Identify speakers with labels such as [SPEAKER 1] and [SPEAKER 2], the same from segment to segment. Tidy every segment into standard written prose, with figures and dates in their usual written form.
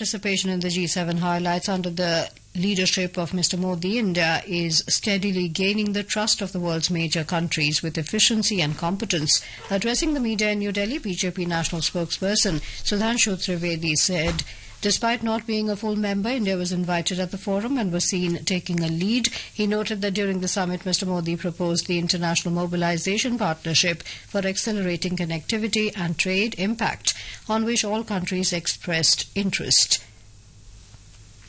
[SPEAKER 1] Participation in the G7 highlights under the leadership of Mr. Modi, India is steadily gaining the trust of the world's major countries with efficiency and competence. Addressing the media in New Delhi, BJP national spokesperson Sudhanshu Trivedi said, Despite not being a full member, India was invited at the forum and was seen taking a lead. He noted that during the summit, Mr. Modi proposed the International Mobilization Partnership for accelerating connectivity and trade impact, on which all countries expressed interest.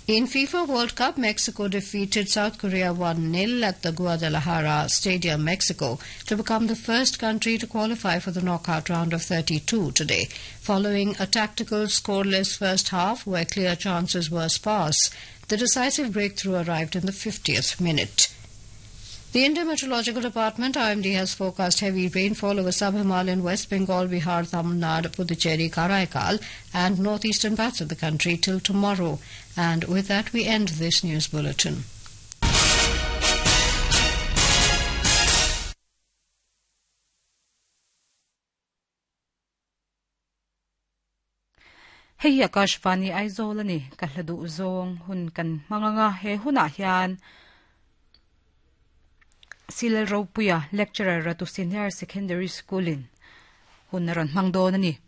[SPEAKER 1] In FIFA World Cup, Mexico defeated South Korea 1-0 at the Guadalajara Stadium, Mexico, to become the first country to qualify for the knockout round of 32 today. Following a tactical scoreless first half where clear chances were sparse, the decisive breakthrough arrived in the 50th minute. The India Meteorological Department IMD has forecast heavy rainfall over sub-Himalayan West Bengal, Bihar, Tamil Nadu, Puducherry, Karaikal and northeastern parts of the country till tomorrow. And with that, we end this news bulletin.
[SPEAKER 2] Hei Akashvani Aizawl ani ka hla duh zawng hun kan hmang anga he hunah hian Silal Ropuia lecturer Ratu Senior Secondary School in hun a rawn hmang dawn a ni.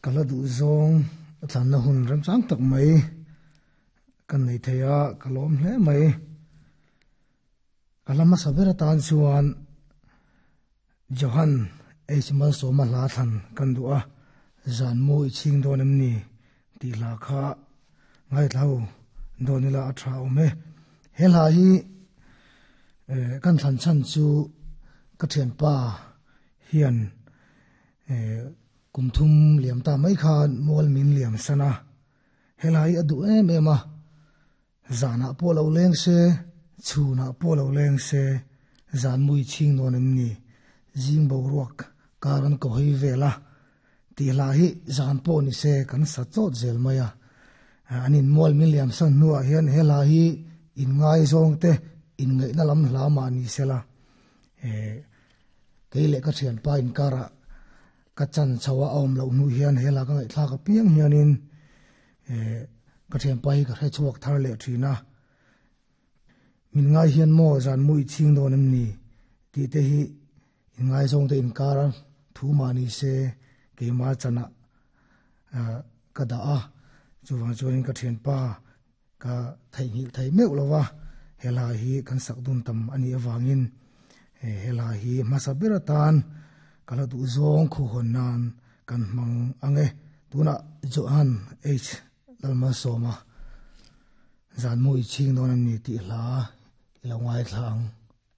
[SPEAKER 3] Ka hla duh zawng a thlanna hun remchang tak mai kan nei thei a, ka lawm hle mai. Ka hla hmasa ber atan chuan Johan H. Malsawma hla thlan kan duh a, Zan mu i chhing dawn em ni tih hla kha ngaithla ho dawn ila a tha awm e. He hla hi kan thlan chhan chu ka thianpa hian kum thum liam ta mai khan mual min liam san a, he hla hi a duh em em a, zanah pawh lo leng se, chhunah pawh lo leng se, zan mui chhing dawn em ni, zing boruak kar an ko hei vel a, tih hla hi zan pawh ni se kan sa chawt zel mai a. An inmual min liam san hnuah hian he hla hi inngaizawng te inngaihna lam hla mah ni sela, kei leh ka thianpa inkarah ka chan chho a awm loh hnu hian he hla ka ngaihthlak apiang hianin ka thianpa hi ka hre chhuak thar leh thin a. Min ngai hian maw zan mu i chhing dawn em ni tih te hi inngaizawng te inkar a thu mah ni se keimah chanah ka dah a, chuvang chuanin ka thianpa Ka theihnghilh thei meuh lo va, he hla hi kan sak dun tam a nih avangin he hla hi hmasa ber atan ka la duh zawng khuhawn nan kan hmang ang e. Tunah Johan H. Lalmalsawma Zanmu i chhing dawn a ni tih hla i lo ngaithla ang.